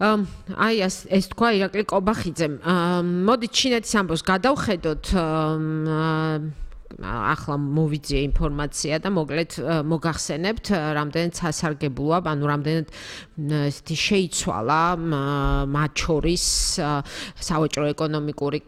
აი ეს თქვა ირაკლი კობახიძემ. მოდით ჩინეთის ამბავს გადავხედოთ. ახლა მოვიძიე ინფორმაცია და მოკლედ მოგახსენებთ რამდენად სასარგებლოა, ანუ რამდენად ესეთი შეიცვალა მათ შორის სავაჭრო ეკონომიკური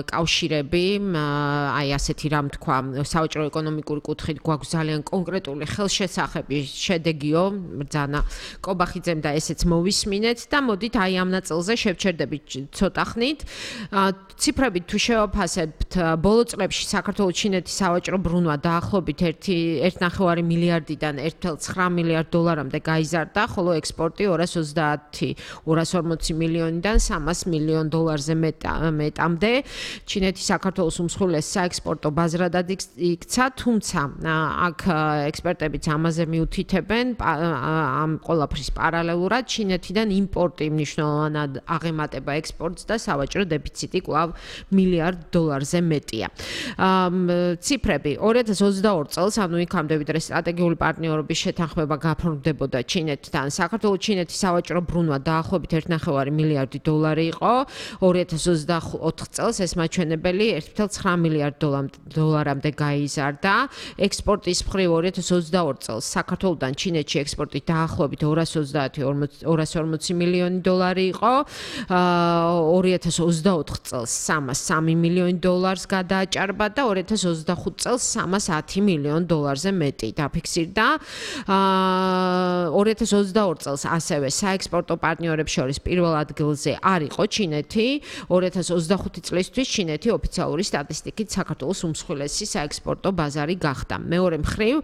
კავშირები, აი ასეთი რამ თქვა, სავაჭრო ეკონომიკური კუთხით გვაქვს ძალიან კონკრეტული ხელშესახები, შედეგიო, ბრძანა კობახიძემ და ესეც მოვისმინეთ და მოდით აი ამ ნაწილზე შევჩერდებით ცოტა ხნით. ციფრებით თუ შევაფასებთ, ბოლო წლებში საქართველოს ჩინეთის სავაჭრო ბრუნვა დაახლოებით 1.9 მილიარდიდან 1.9 მილიარდ დოლარამდე გაიზარდა, ხოლო ექსპორტი 240 მილიონიდან 300 მილიონ დოლარზე მეტამდე. ჩინეთი საქართველოს უმსხვილეს საექსპორტო ბაზრადად იქცა, თუმცა აქ ექსპერტებიც ამაზე მიუთითებენ, ამ ყველაფრის პარალელურად ჩინეთიდან იმპორტი მნიშვნელოვნად აღემატება ექსპორტს და სავაჭრო დეფიციტი კვლავ მილიარდ დოლარზე მეტია. ციფრები 2022 წელს, ანუ იქამდე ვიდრე სტრატეგიული პარტნიორობის შეთანხმება გაფორმდებოდა ჩინეთთან, საქართველოს ჩინეთის სავაჭრო ბრუნვა დაახლოებით 1.9 მილიარდი დოლარი იყო. 2024 წელს ეს მაჩვენებელი 1.9 მილიარდ დოლარამდე გაიზარდა. ექსპორტის მხრივ 2022 წელს საქართველოსთან ჩინეთში ექსპორტი დაახლოებით 240 მილიონი დოლარი იყო. 2024 წელს 303 მილიონი დოლარს გადააჭარბა და 2025 წელს 310 მილიონ დოლარზე მეტი დაფიქსირდა. 2022 წელს ასევე საექსპორტო პარტნიორებს შორის პირველ ადგილზე არ იყო ჩინეთი. 2025 წლისთვის ჩინეთი ოფიციალური სტატისტიკით საქართველოს უმსხვილესი საექსპორტო ბაზარი გახდა. მეორე მხრივ,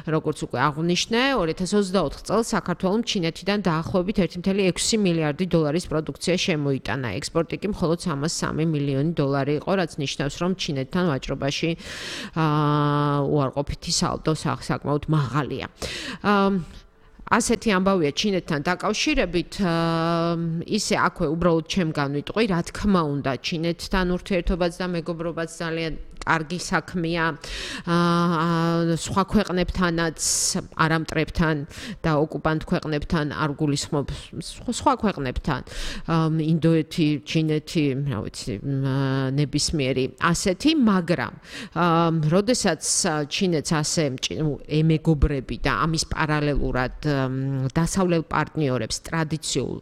როგორც უკვე აღვნიშნე, 2024 წელს საქართველოს ჩინეთიდან დაახლოებით 1.6 მილიარდი დოლარის პროდუქცია შემოიტანა. ექსპორტი კი მხოლოდ 303 მილიონი დოლარი იყო, რაც ნიშნავს, რომ ჩინეთთან ვაჭრობაში უარყოფითი სალდო საკმაოდ მაღალია. ასეთი ამბავია ჩინეთთან დაკავშირებით, ისე აქვე უბრალოდ ჩემგან ვიტყვი, რა თქმა უნდა, ჩინეთთან ურთიერთობაც და მეგობრობაც ძალიან კარგი საქმეა. სხვა ქვეყნებთანაც, არამტრებთან და ოკუპანტ ქვეყნებთან არ გულისხმობ, სხვა ქვეყნებთან, ინდოეთი, ჩინეთი, რა ვიცი, ნებისმიერი ასეთი, მაგრამ როდესაც ჩინეთს ასე ემეგობრები და ამის პარალელურად დასავლელ პარტნიორებს, ტრადიციულ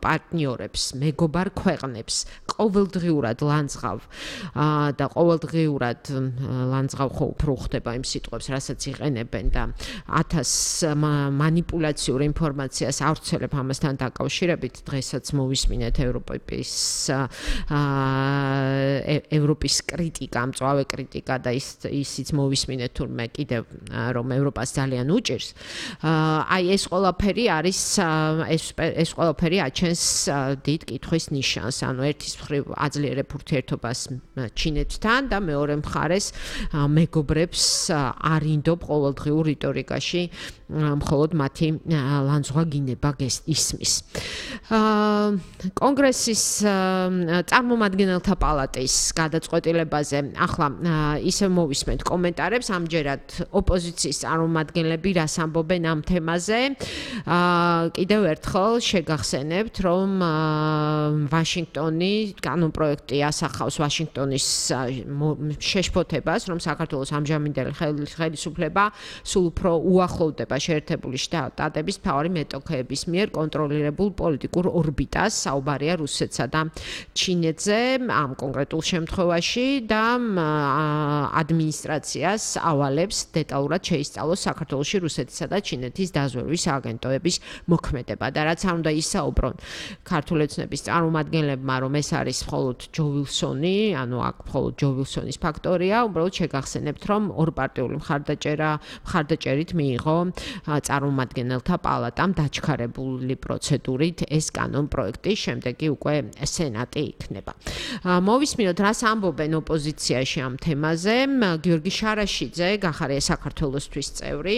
პარტნიორებს, მეგობარ ქვეყნებს ყოველდღიურად ლანძღავ და ყოველდღიურად ლანძღავ ხო უფრო ხდება იმ სიტყვებს, რასაც იყენებენ და 1000 მანიპულაციურ ინფორმაციას ავრცელებ ამასთან დაკავშირებით. დღესაც მოვისმინეთ ევროპის კრიტიკა, მწვავე კრიტიკა და ისიც მოვისმინეთ თურმე კიდევ რომ ევროპას ძალიან უჭირს. აი ეს ყველაფერი არის ეს ყველაფერი აჩენს დიდ კითხვის ნიშანს, ანუ ერთის მხრივ აძლიერებ ურთიერთობას ჩინეთთან და მეორე მხარეს მეგობრებს არ ინდობ ყოველდღიურ რიტორიკაში მხოლოდ მათი ლანძღვა გინება ისმის. კონგრესის წარმომადგენელთა პალატის გადაწყვეტილებაზე ახლა ისევ მოვისმენთ კომენტარებს, ამჯერად ოპოზიციის წარმომადგენლები რას ამბობენ ამ თემაზე. კიდევ ერთხელ შეგახსენებთ, რომ ვაშინგტონი კანონპროექტი ასახავს ვაშინგტონის შეშფოთებას, რომ საქართველოს ამჟამინდელი ხელისუფლება სულ უფრო უახლოვდება შეერთებული შტატების მთავარი მეტოქეების მიერ კონტროლირებულ პოლიტიკურ ორბიტას, საუბარია რუსეთსა და ჩინეთზე ამ კონკრეტულ შემთხვევაში და ადმინისტრაციას ავალებს დეტალურად შეისწავლოს საქართველოში რუსეთისა და ჩინეთის დაზვერვის აგენტოების მოქმედება და რაც არ უნდა ისაუბრონ ქართული ოცნების წარმომადგენლებმა, რომ ეს არის მხოლოდ ჯო ვილსონი, ანუ აქ მხოლოდ ჯო ვილსონის ფაქტორია, უბრალოდ შეგახსენებთ, რომ ორპარტიული მხარდაჭერით მიიღო წარმომადგენელთა პალატამ დაჩქარებული პროცედურით ეს კანონპროექტი, შემდეგ კი უკვე სენატი იქნება. მოვისმინოთ, რას ამბობენ ოპოზიციაში ამ თემაზე. გიორგი შარაშიძე, გახარია საქართველოსთვის წევრი,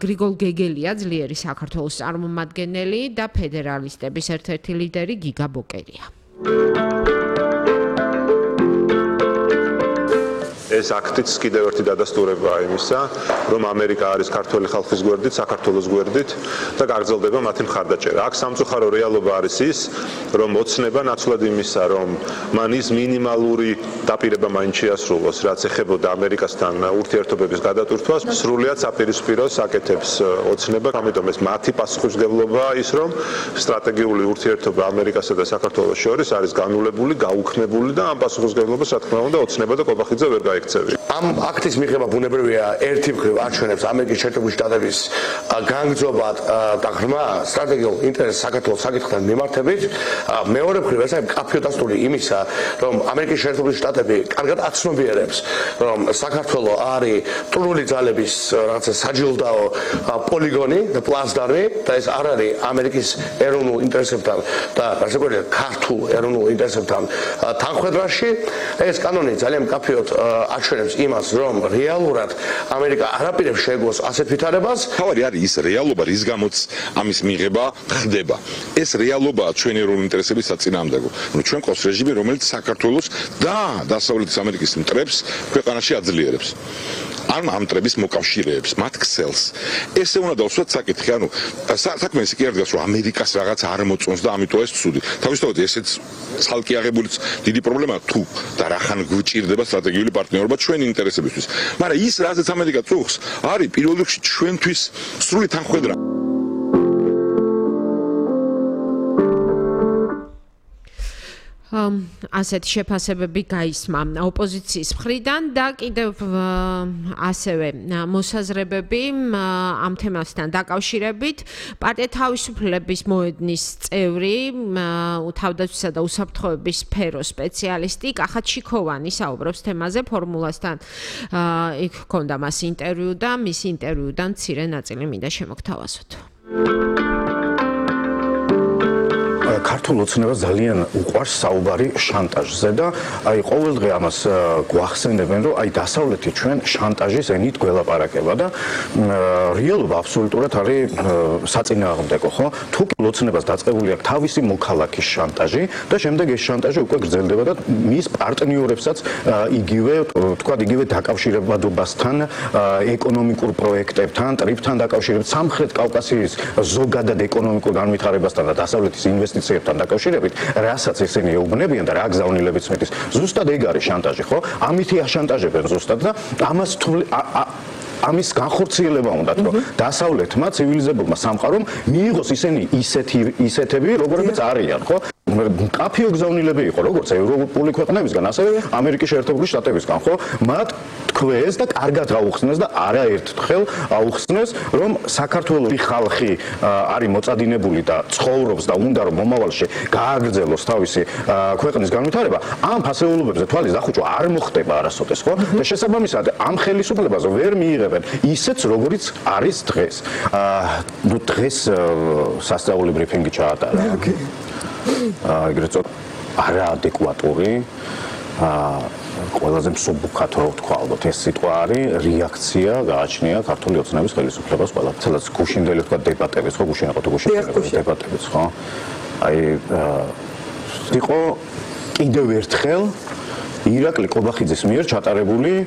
გრიგოლ გეგელია, ძლიერი საქართველოს წარმომადგენელი და ფედერალისტების ერთ-ერთი ლიდერი გიგა ბოკერია. ეს აქტიც კიდევ ერთი დადასტურებაა იმისა, რომ ამერიკა არის ქართველი ხალხის გვერდით, საქართველოს გვერდით და გაგრძელდება მათი მხარდაჭერა. აქ სამწუხარო რეალობა არის ის, რომ ოცნება ნაცვლად იმისა, რომ მან ის მინიმალური დაპირება მაინც შეასრულოს, რაც ეხებოდა ამერიკასთან ურთიერთობების გადატვირთვას, სრულიად საპირისპიროს აკეთებს ოცნება, ამიტომ ეს მათი პასუხისმგებლობაა ის, რომ სტრატეგიული ურთიერთობა ამერიკასა და საქართველოს შორის არის განულებული, გაუქმებული და ამ პასუხისმგებლობას რა თქმა უნდა ოცნება და კობახიძე ვერ გაექცევი. ამ აქტის მიღება ბუნებრივია ერთი მხრივ აჩვენებს ამერიკის შეერთებული შტატების განგრძობა და ღრმა სტრატეგიულ ინტერესს საქართველოს საკითხთან მიმართებით. მეორე მხრივ ეს არის მკაფიო დასტური იმისა, რომ ამერიკის შეერთებული შტატები კარგად აცნობიერებს, რომ საქართველოს არის მტრული ძალების რაღაცა საჯილდაო პოლიგონი და პლაცდარმი და ეს არ არის ამერიკის ეროვნულ ინტერესებთან და ასე ვთქვათ ქართულ ეროვნულ ინტერესებთან თანხვედრაში. ეს კანონი ძალიან მკაფიოდ აჩვენებს იმას, რომ რეალურად ამერიკა არაპირებს შეეგოს ასეთ ვითარებას. თავი არის ის რეალობა, რის გამოც ამის მიღება ხდება. ეს რეალობაა ჩვენი ეროვნული ინტერესების საწინააღმდეგო. ჩვენ ყავს რეჟიმი, რომელიც საქართველოს და დასავლეთის ამერიკის მტრებს ქვეყანაში აძლიერებს. ამ მტრების მოკავშირეებს, მათ ქსელს. ესე უნდა დავსვათ საკითხი, ანუ საქმე ისე კი არ დგას, რომ ამერიკას რაღაც არ მოწონს და ამიტომ ეს ცუდი. თავისთავად ესეც ცალკე აღებულიც დიდი პრობლემაა თუ და რახან გვჭირდება სტრატეგიული პარტნიორობა ჩვენი ინტერესებისთვის. მაგრამ ის რაზეც ამერიკა წუხს, არის პირველ რიგში ჩვენთვის სრული თანხმედრა. ასეთი შეფასებები გაისმა ოპოზიციის მხრიდან და კიდევ ასევე მოსაზრებები ამ თემასთან დაკავშირებით. პარტია თავისუფლების მოედნის წევრი, თავდაცვისა და უსაფრთხოების სფეროს სპეციალისტი კახა ჩიქოვანი საუბრობს თემაზე ფორმულასთან. იქ ჰქონდა მას ინტერვიუ და მის ინტერვიუდან მცირე ნაწილი მინდა შემოგთავაზოთ. ქართულ ოცნებას ძალიან უყვარს საუბარი შანტაჟზე და აი ყოველდღე ამას გვახსენებენ, რომ აი დასავლეთი ჩვენ შანტაჟის ენით გველაპარაკება და რეალობა აბსოლუტურად არის საწინააღმდეგო, ხო? თუ ოცნებას დაწყებული აქვს თავისი მოქალაქის შანტაჟი და შემდეგ ეს შანტაჟი უკვე გრძელდება და მის პარტნიორებსაც იგივე დაკავშირებადობასთან, ეკონომიკურ პროექტებთან, ტრიფთან დაკავშირებით, სამხრეთ კავკასიის ზოგადად ეკონომიკურ განვითარებასთან და დასავლეთის ინვესტიციებთან დაკავშირებით, რასაც ისინი ეუბნებიან და რა გზავნილებიც მეტის. ზუსტად ეგ არის შანტაჟი, ხო? ამითი აშანტაჟებენ ზუსტად და ამის განხორციელება უნდათ, რომ დასავლეთმა ცივილიზებულმა სამყარომ მიიღოს ისინი ისეთები, როგორებიც არიან, ხო? მკაფიო გზავნილები იყო, როგორც ევროპული ქვეყნებისგან, ასევე ამერიკის შეერთებული შტატებისგან, ხო? მათ თქვეს და კარგად აუხსნეს და არაერთხელ აუხსნეს, რომ საქართველოს ხალხი არის მოწადინებული და ცხოვრობს და უნდა რომ მომავალში გააგრძელოს თავისი ქვეყნის განვითარება, ამ ფასეულობებზე თვალის დახუჭვა არ მოხდება არასოდეს, ხო? და შესაბამისად, ამ ხელისუფლებაზე ვერ მიიღებენ ისეც, როგორიც არის დღეს. დღეს სასწაული ბრიფინგი ჩაატარა. ეგრეთ წოდებული არაადეკვატური ყველაზე მსუბუქად რო ვთქვა, ალბათ ეს სიტყვა არის რეაქცია გააჩნია ქართული ოცნების ხელისუფლებას ყველაფერს გუშინდელი თქვა დებატებიც, ხო გუშინ იყო თუ გუშინ დებატებიც, ხო? აი იყო კიდევ ერთხელ ირაკლი ყობახიძის მიერ ჩატარებული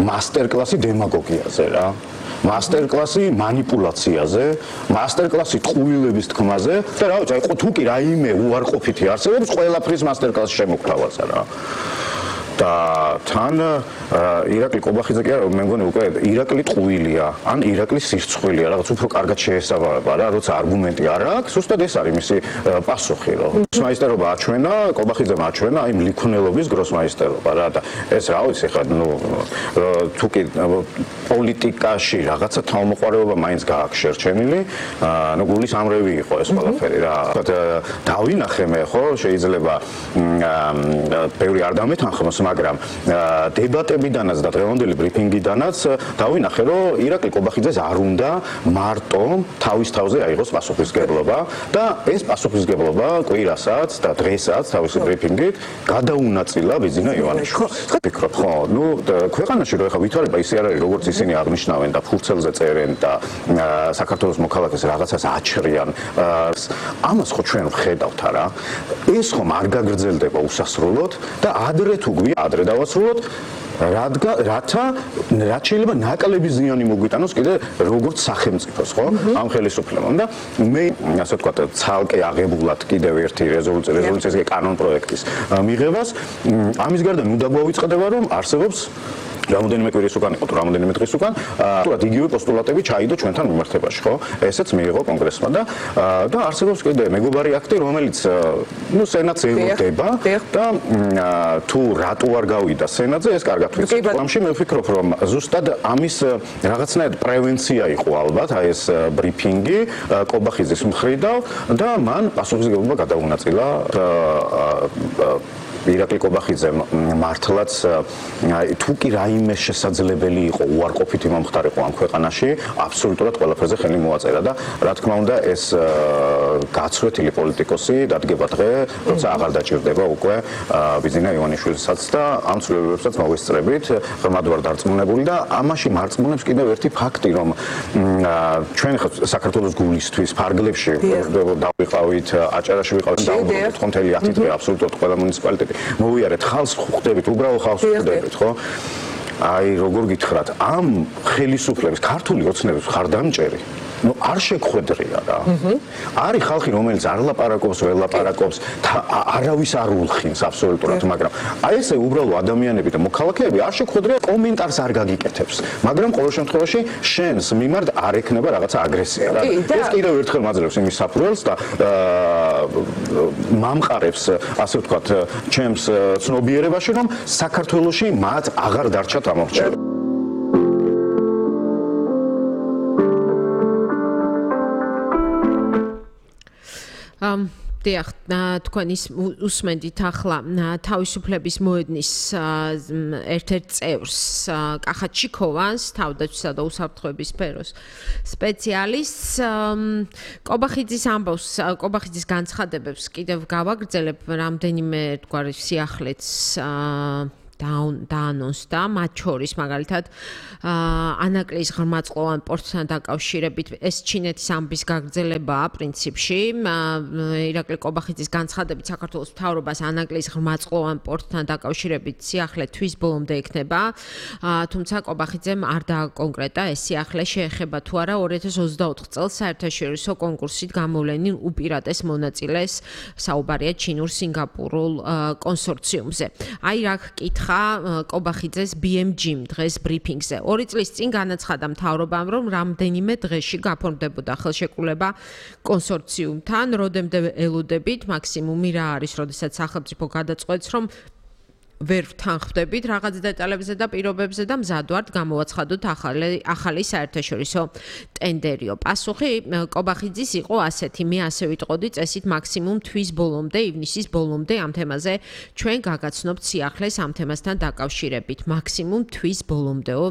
მასტერკლასი დემაგოგიაზე რა. მასტერკლასი манипуляციაზე, მასტერკლასი ტყუილების თქმაზე და რა ვიცი, აი თუ კი რაიმე უარყოფითი არსებობს, ყველაფრის მასტერკლასი შემოგთავაზა რა. და თან ირაკლი ყობახიძე კი არა, მე მგონი უკვე ირაკლი ტყუილია, ან ირაკლი სირცხვილია, რაღაც უფრო კარგად შეესაბამება რა, როცა არგუმენტი არ აქვს, ზუსტად ეს არის მისი პასუხი, რომ გროსმაისტერობა აჩვენა, ყობახიძემ აჩვენა აი მლიქონელობის გროსმაისტერობა რა და ეს რა ვიცი ხა, თუ კი პოლიტიკაში რაღაცა თავმოყარეობა მაინც გააქვს შერჩენილი, გულის ამრევი იყო ეს ყველაფერი რა. დავინახე მე ხო, შეიძლება ბევრი არ დამეთანხმოს, მაგრამ დებატებიდანაც და დღევანდელი ბრიფინგიდანაც დავინახე, რომ ირაკლი ყობახიძეს არ უნდა მარტო თავის თავზე აიღოს პასუხისმგებლობა და ეს პასუხისმგებლობა კვირასაც და დღესაც თავისი ბრიფინგით გადაუნაწილა ბიძინა ივანიშვილს. ვფიქრობ, ხო, ქვეყანაში რო ეხა ვითარება ისე არ არის, როგორც ისინი აღნიშნავენ და ფურცელზე წერენ და საქართველოს მოქალაქეს რაღაცას აჩრიან. ამას ხო ჩვენ ვხედავთ არა? ეს ხომ არ გაგრძელდება უსასრულოდ და ადრე თუ ადრე დავასრულოთ, რათა რაც შეიძლება ნაკლები ზიანი მოგვიტანოს კიდე როგორც სახელმწიფოს, ხო? ამ ხელისუფლებამ და მე ასე ვთქვათ, ცალკე აღებულად კიდევ ერთი რეზოლუციის კანონ-პროექტის მიღებას ამის გარდა ნუ დაგვავიწყდება, რომ არსებობს რამოდენიმე კვირის უკან იყო თუ რამოდენიმე დღის უკან თუნდაც იგივე პოსტულატები ჩაიდო ჩვენთან მიმართებაში, ხო? ესეც მიიღო კონგრესმა და არსებობს კიდე მეგობარი აქტი, რომელიც სენატს ელოდება და თუ რატო არ გავიდა სენატზე, ეს კარგად ვიცით. ამში მე ვფიქრობ, რომ ზუსტად ამის რაღაცნაირად პრევენცია იყო ალბათ, აი ეს ბრიფინგი კობახიძის მხრიდან და მან პასუხისმგებლობა გადაუნაწილა ირაკლი კობახიძემ მართლაც თუ კი რაიმე შესაძლებელი იყო უარყოფითი მომხდარიყო ამ ქვეყანაში, აბსოლუტურად ყველაფერზე ხელი მოაწერა და რა თქმა უნდა ეს გაცვეთილი პოლიტიკოსი დადგება დღე, როცა აღარ დაჭირდება უკვე ბიზინა ივანიშვილისაც და ამ ცვლილებებსაც მოვესწრებით, ღრმად ვარ დარწმუნებული და ამაში მარწმუნებს კიდევ ერთი ფაქტი, რომ ჩვენ ხა საქართველოს გულისთვის ფარგლებში დავიყავით, აჭარაში ვიყავით, დავუბრუნდით ხო მთელი 10 დღე აბსოლუტურად ყველა მუნიციპალიტეტი მოვიარეთ, ხალხს ხვდებით, უბრალო ხალხს ხვდებით, ხო? აი, როგორ გითხრათ, ამ ხელისუფლების ქართული ოცნების ხარდამჭერი არ შეგხვედრია რა. არის ხალხი, რომელიც არ ლაპარაკობს, ვერ ლაპარაკობს, არავის არ ულხინს აბსოლუტურად, მაგრამ აი ესე უბრალო ადამიანები და მოქალაქეები არ შეგხვედრია, კომენტარს არ გაგიკეთებს, მაგრამ ყოველ შემთხვევაში შენს მიმართ არ ექნება რაღაცა აგრესია რა. ეს კიდევ ერთხელ მაძლევს იმის საფუძველს და მამყარებს, ასე ვთქვათ, ჩემს ცნობიერებაში, რომ საქართველოში მათ აღარ დარჩათ ამორჩევი. დიახ, თქვენ ის უსმენდით ახლა თავისუფლების მოედნის ერთ-ერთ წევრს კახა ჩიქოვანს, თავდაცვისა და უსაფრთხოების სფეროს სპეციალისტს. კობახიძის ამბავს, კობახიძის განცხადებებს კიდევ გავაგრძელებ, რამდენიმე თქვარი სიახლეც დაანონსდა, მათ შორის მაგალითად ანაკლის ღრმაწყლოვან პორტთან დაკავშირებით ეს ჩინეთის ამბის გაგრძელებაა პრინციპში. ირაკლი კობახიძის განცხადებით საქართველოს მთავრობას ანაკლის ღრმაწყლოვან პორტთან დაკავშირებით სიახლე თვის ბოლომდე ექნება, თუმცა კობახიძემ არ დააკონკრეტა ეს სიახლე შეეხება თუ არა 2024 წელს საერთაშორისო კონკურსით გამოვლენილ უპირატეს მონაწილეს, საუბარია ჩინურ-სინგაპურულ კონსორციუმზე. აი რა გკითხა კობახიძეს BMG-მ დღეს ბრიფინგზე. 2 წლის წინ განაცხადა მთავრობამ, რომ რამდენიმე დღეში გაფორმდებოდა ხელშეკრულება კონსორციუმთან, როდემდე ელოდებით, მაქსიმუმი რა არის, როდესაც სახელმწიფო გადაწყვეტს, რომ ვერ ვთანხმდებით რაღაც დეტალებზე და პირობებზე და მზად ვართ გამოვაცხადოთ ახალი საერთაშორისო ტენდერიო. პასუხი კობახიძის იყო ასეთი, მე ასე ვიტყოდი წესით მაქსიმუმ თვის ბოლომდე, ივნისის ბოლომდე ამ თემაზე ჩვენ გაგაცნობთ სიახლეს ამ თემასთან დაკავშირებით. მაქსიმუმ თვის ბოლომდეო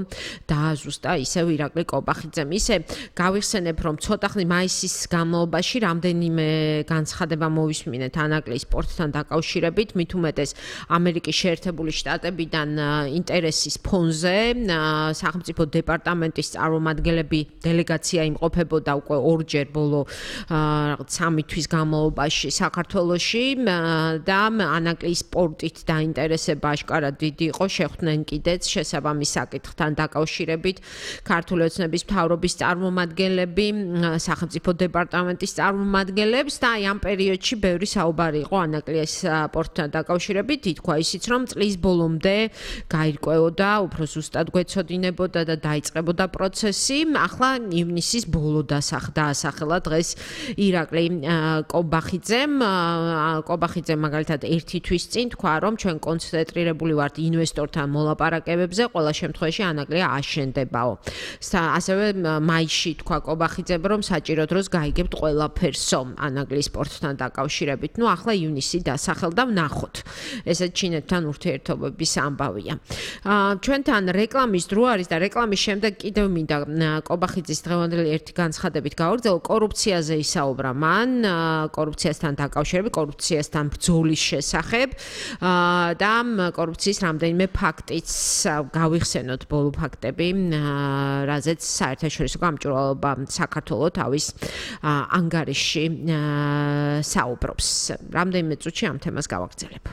დააზუსტა ისევ ირაკლი კობახიძემ. ისე გავიხსენებ, რომ ცოტა ხნით მაისის განმავლობაში რამდენიმე განცხადება მოვისმინეთ ანაკლის სპორტთან დაკავშირებით, მით უმეტეს ამერიკის შეერთებული შტატებიდან ინტერესის ფონზე სახელმწიფო დეპარტამენტის წარმომადგენლები დელეგაცია იმყოფებოდა უკვე ორჯერ ბოლო 3 თვის განმავლობაში საქართველოში და ანაკლის სპორტით დაინტერესება აშკარად დიდი იყო, შეხვდნენ კიდეც შესაბამის საკითხთან დაკავშირებით ქართული ოცნების მთავრობის წარმომადგენლები, სახელმწიფო დეპარტამენტის წარმომადგენლებს და ამ პერიოდში ბევრი საუბარი იყო ანაკლის სპორტთან დაკავშირებით, ითქვა ისიც რომ წლის ბოლომდე გაირკვეოდა, უფრო ზუსტად გვეცოდინებოდა და დაიწყებოდა პროცესი. ახლა ივნისის ბოლო დაასახელა დღეს ირაკლი კობახიძემ. კობახიძემ მაგალითად 1 თვის წინ თქვა, რომ ჩვენ კონცენტრირებული ვართ ინვესტორთან მოლაპარაკებებზე, ყველა შემთხვევაში ანაკლი აშენდებაო. ასევე მაისში თქვა კობახიძემ, რომ საჭირო დროს გაიგებთ ყველაფერსო ანაკლის სპორტთან დაკავშირებით. ნუ ახლა ივნისი დასახელდა, ვნახოთ. ესე ჩინეთთან ურთიერთობების ამბავია. ჩვენთან რეკლამის დრო არის და რეკლამის შემდეგ კიდევ მინდა კობახიძის დღევანდელი ერთი განცხადებით გავაგრძელო, კორუფციაზე ისაუბრა მან, კორუფციასთან დაკავშირებით, კორუფციასთან ბრძოლის შესახებ და კორუფციის რამდენიმე ფაქტიც გავიხსენოთ ბოლო ფაქტები, რაზეც საერთაშორისო გამჭვირვალობა საქართველოს თავის ანგარიშში საუბრობს. რამდენიმე წუთში ამ თემას გავაგრძელებ.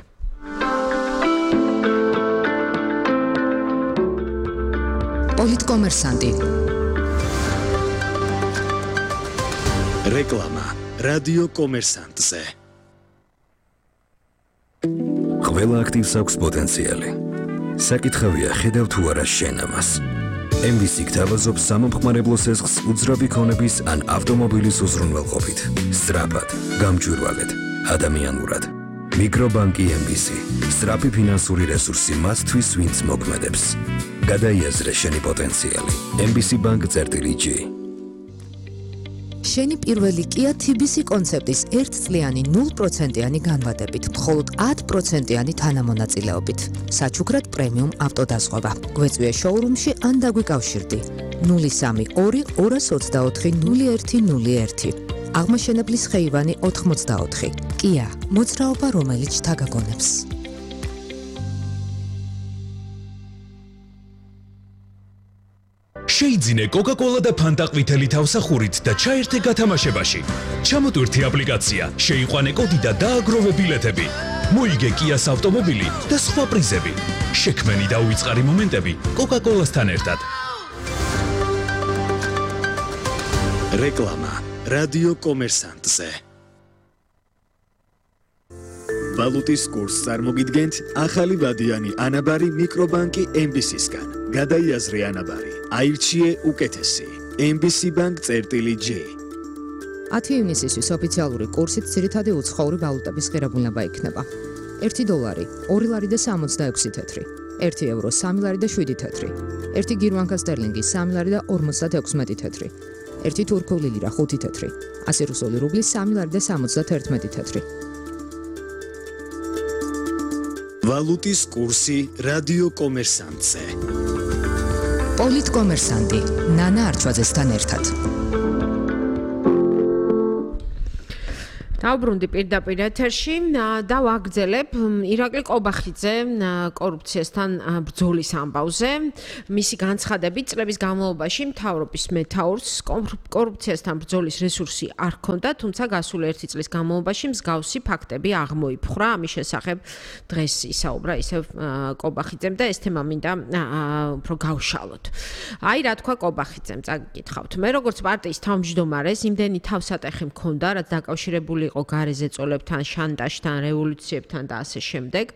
პოლიტკომერსანტი. რეკლამა რადიო კომერსანტზე. ყველა აქტივს აქვს პოტენციალი. საკითხავია ხედავ თუ არა შენ ამას. MVC გთავაზობს სამომხმარებლო სესხს უძრავი ქონების ან ავტომობილის უზრუნველყოფით. სწრაფად, გამჭვირვალედ, ადამიანურად. მიკრობანკი MVC. სწრაფი ფინანსური რესურსი მათთვის, ვინც მოქმედებს. გადაიაზრე შენი პოტენციალი. MVC-bank.g. შენი პირველი Kia TBC კონცეპტის 1 წლიანი 0%-იანი განვადებით, მხოლოდ 10%-იანი თანამონაწილეობით. საჩუქრად პრემიუმ ავტოდაზღვევა. გვეწვიე შოურუმში ან დაგვიკავშირდი. 032 224 0101. აღმაშენებლის ხეივანი 84. Kia, მოძრაობა რომელიც თაგაგონებს. შეიძინე Coca-Cola და Fanta ყვითელი თავსახურით და ჩაერთე გათამაშებაში. ჩამოტვირთი აპლიკაცია, შეიყვანე კოდი და დააგროვე ბილეთები. მოიგე Kia-ს ავტომობილი და სხვა პრიზები. შექმენი და უიწყარი მომენტები Coca-Cola-სთან ერთად. რეკლამა რადიო კომერსანტზე. ვალუტის კურსს წარმოგიდგენთ ახალი ვადიანი ანაბარი მიკრობანკი MBC-სგან. გადაიაზრე ანაბარი. აირჩიე უკეთესი. MBC-bank.g. 10 ივნისისთვის ოფიციალური კურსით ძირითადი უცხოური ვალუტების ღირებულება იქნება. 1 დოლარი 2 ლარი და 66 თეთრი, 1 ევრო 3 ლარი და 7 თეთრი, 1 გირვანკა სტერლინგი 3 ლარი და 56 თეთრი, 1 თურქული ლირა 5 თეთრი, 100 რუსული რუბლი 3 ლარი და 71 თეთრი. ვალუტის კურსი რადიო კომერსანტზე. პოლიტკომერსანტი ნანა არჩვაძესთან ერთად. დავბრუნდი პირდაპირ ეთერში და ვაგრძელებ ირაკლი კობახიძე კორუფციასთან ბრძოლის ამბავზე. მისი განცხადებით წლების განმავლობაში მთავრობის მეთაურს კორუფციასთან ბრძოლის რესურსი არ ჰქონდა, თუმცა გასული 1 წლის განმავლობაში მსგავსი ფაქტები აღმოიფხვრა. ამის შესახებ დღეს ისაუბრა ისევ კობახიძემ და ეს თემა მინდა უფრო გავშალოთ. აი რა თქვა კობახიძემ, წაგიკითხავთ. მე როგორც პარტიის თავმჯდომარეს იმდენი თავსატეხი მქონდა, რაც დაკავშირებული იყო გარეზე წოლებთან, შანტაჟთან, რევოლუციებთან და ასე შემდეგ.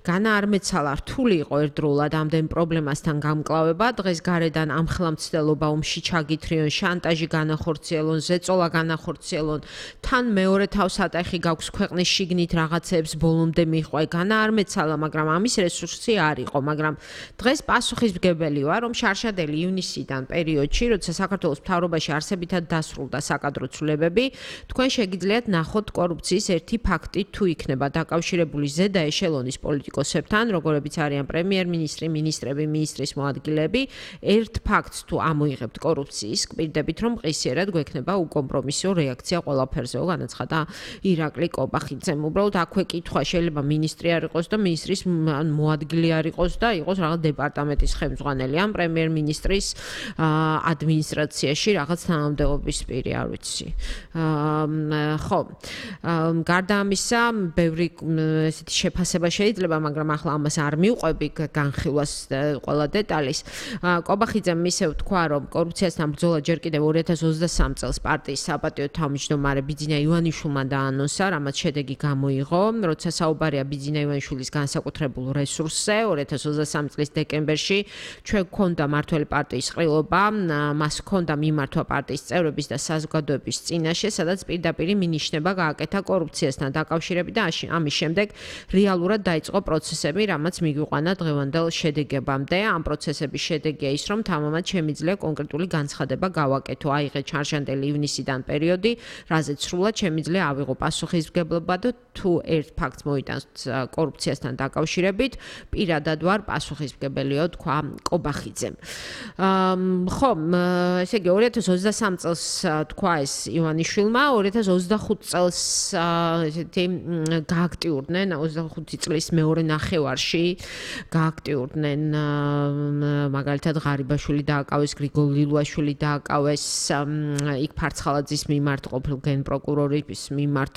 განა არ მეცალა რთული იყო ერთდროულად ამდენ პრობლემასთან გამკლავება. დღეს გარედან ამხელამცდელობა ომში ჩაგითრიონ, შანტაჟი განახორციელონ, ზეწოლა განახორციელონ. თან მეორე თავსატეხი გაქვს ქვეყნის შიგნით რაღაცეებს ბოლომდე მიყვე. განა არ მეცალა, მაგრამ ამის რესურსი არ იყო, მაგრამ დღეს პასუხისმგებელი ვარ, რომ შარშადელი ივნისიდან პერიოდში, როცა საქართველოს მთავრობაში არსებითად დასრულდა საკადრო ცვლილებები, თქვენ შეგიძლიათ ნახოთ კორუფციის ერთი ფაქტი თუ იქნება დაკავშირებული ზედა ეშელონის პოლიტიკოსებთან, როგორებიც არიან პრემიერ-მინისტრი, მინისტრები, მინისტრის მოადგილეები, ერთ ფაქტს თუ ამოიღებთ კორუფციის, გვირდებით რომ ყისიერად გვექნება უკომპრომისო რეაქცია ყველაფერზე, განაცხადა ირაკლი კობახიძემ. უბრალოდ აქვე კითხვა, შეიძლება მინისტრი არ იყოს და მინისტრის მოადგილე არ იყოს და იყოს რაღაც დეპარტამენტის ხელმძღვანელი ან პრემიერ-მინისტრის ადმინისტრაციაში რაღაც თანამდებობის პირი, არ ვიცი. ხო, გარდა ამისა, ბევრი ესეთი შეფასება შეიძლება, მაგრამ ახლა ამას არ მივყვები განხილვას ყველა დეტალის. კობახიძემ ისევ თქვა, რომ კორუფციასთან ბრძოლა ჯერ კიდევ 2023 წელს პარტიის საპატიო თავმჯდომარე ბიძინა ივანიშვილმა დაანონსა, რამაც შედეგი გამოიღო, როცა საუბარია ბიძინა ივანიშვილის განსაკუთრებულ რესურსზე. 2023 წლის დეკემბერში ჩვენ გვქონდა მართველი პარტიის ყრილობა, მას ჰქონდა მიმართვა პარტიის წევრების და საზოგადოების წინაშე, სადაც პირდაპირ მინიშნება გააკეთა კორუფციასთან დაკავშირებით და ამის შემდეგ რეალურად დაიწყო პროცესები, რამაც მიგვიყვანა დღევანდელ შედეგებამდე. ამ პროცესების შედეგია ის, რომ თამამად შემიძლია კონკრეტული განცხადება გავაკეთო. აიღე ჩარშანდელი ივნისიდან პერიოდი, რაზეც სრულად შემიძლია ავიღო პასუხისმგებლობა და თუ ერთ ფაქტს მოიტანს კორუფციასთან დაკავშირებით, პირადად ვარ პასუხისმგებელიო, თქვა კობახიძემ. ხო, ესე იგი 2023 წელს თქვა ეს ივანიშვილმა, 2025 წელს წელს ესეთი გააქტიურდნენ 25 წლის მეორე ნახევარში გააქტიურდნენ მაგალითად ღარიბაშვილი დააკავეს, გრიგოლ ლილუაშვილი დააკავეს, იქ ფარცხალაძის მიმართ ყოფილ გენპროკურორის მიმართ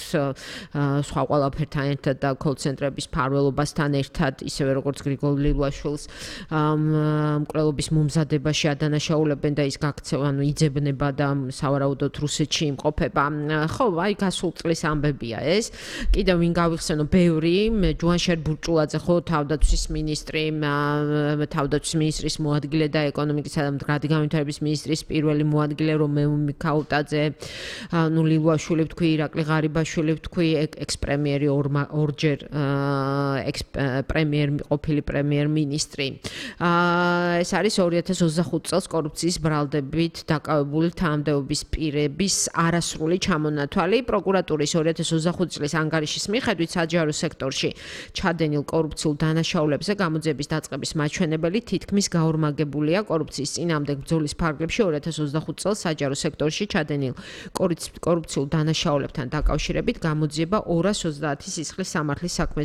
სხვა ყველაფერთან ერთად და კოლცენტრების ფარველობასთან ერთად, ისევე როგორც გრიგოლ ლილუაშვილს მკვლელობის მომზადებაში ადანაშაულებენ და ის გაქცევა, იძებნება და სავარაუდოდ რუსეთში იმყოფება. ხო, აი გასულ წლის ამბებია ეს. კიდევ ვინ გავიხსენო, ბევრი, ჯუანშერ ბურჭულაძე, ხო, თავდაცვის მინისტრი, თავდაცვის მინისტრის მოადგილე და ეკონომიკისა და მდგრადი განვითარების მინისტრის პირველი მოადგილე რომეო მიქაუტაძე, ლილუაშვილი ვთქვი, ირაკლი ღარიბაშვილი ვთქვი, ექს-პრემიერი ორჯერ ყოფილი პრემიერ-მინისტრი. ეს არის 2025 წელს კორუფციის ბრალდებით დაკავებული თანამდებობის პირების არასრული ჩამონათვალი. პროკურატურის 2025 წლის ანგარიშის მიხედვით საჯარო სექტორში ჩადენილ კორუფციულ დანაშაულებზე გამოძიების დაწყების მაჩვენებელი თითქმის გაორმაგებულია. კორუფციის წინააღმდეგ ბრძოლის ფარგლებში 2025 წელს საჯარო სექტორში ჩადენილ კორუფციულ დანაშაულებთან დაკავშირებით გამოძიება 230 სისხლის სამართლის საქმეზე